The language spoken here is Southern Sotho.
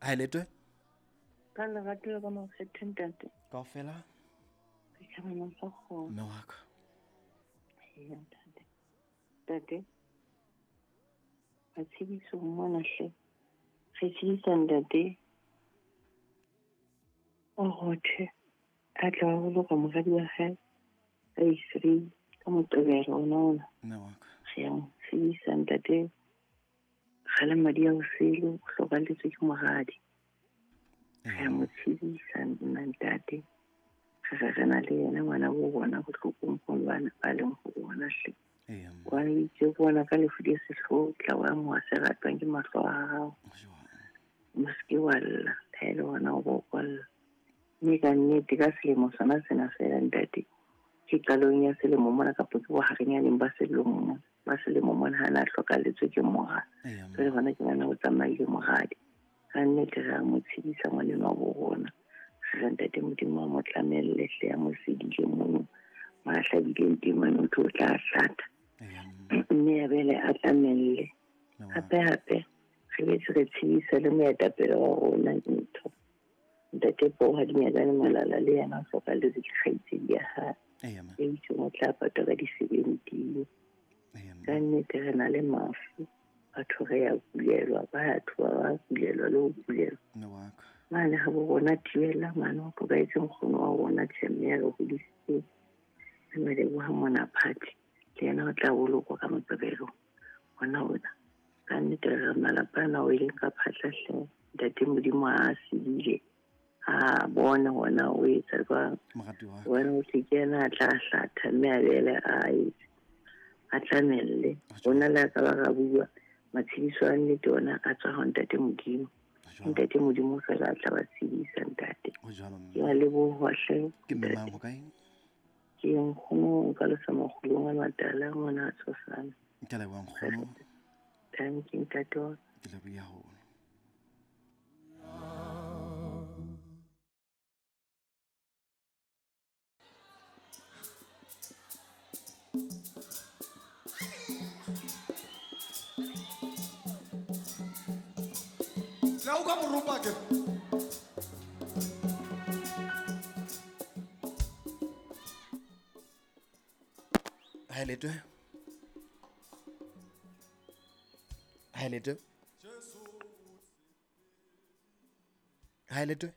Ha e letwe? Ka lerato le ka makgethe ntate. Kaofela? Re tjhabana sa kgona. Mme wa ka. Eya ntate. Ntate. Matshediso mona hle. Re tshedisa ntate. O rothe. A tla wa boloka moradi wa hae. Ka di-3 ka Moqebelo ona ona. Mme wa ka. Re ya mo tshedisa ntate. Kgale madi a osele o hlokalletswe ke moradi. Re a mo tshedisa nna ntate. Re re re na le yena ngwana bo bona bohlokong bo bana ba leng ho bona hle. Wa itse bona ka lefu le sehloho tla wa mo se ratwang ke mahlo a hao. Mo se wa lla, ha ele hona o bo kwalla. Mme ka nnete ka selemo sona sena fela ntate. Ke qalong ya selemo mona kapa ke boharenyaneng ba selemo ba selemo mona ha na hlokalletswe ke mora. Jwale hona ke ngwana o tsamaile moradi. Ka nnete re a mo tshedisa ngwaneno wa bo rona. Re re ntate Modimo a mo tlamelle hle a mo sedile mono. Ma hlabileng teng mane o tlo tla hlatha. Mme ya bele a tlamelle. Hape hape re betse re tshedisa le moetapele wa rona ntho. Ntate Poha Dinyakane Malala le yena o hlokalletswe ke kgaitsedi ya hae. E itseng o tla patwa ka di-17. Ka nnete re na le mafu. Batho re ya kulelwa, batho ba ba kulelwa le ho kulelwa. Mane ha bo rona thibela mane ho hlokahetse nkgono wa rona tjhemme ya re hodisitseng. Re maleboha mona phathi le yena o tla bolokwa ka Moqebelo ona ona. Ka nnete re malapa ana o ileng ka phahla hle. Ntate Modimo a sedile. A bona hona o etsa jwang. Wena o se ke yena a tla hlatha mme a bele a etse. A tlamelle. Rona le ka ba ra bua matshediso a nnete ona a tswa ho ntate Modimo. Ntate Modimo fela a tla ba tshedisa ntate. Ke a leboha hle. Ke mme mang ho kae? Ke nkgono ka lesa makgolong a matala ngwana a tshosana. Ke leboha nkgono. Thank you ntate. Ke leboha haholo. La uka morupa ke. Ha e letwe? Ha e letwe? Ha e letwe?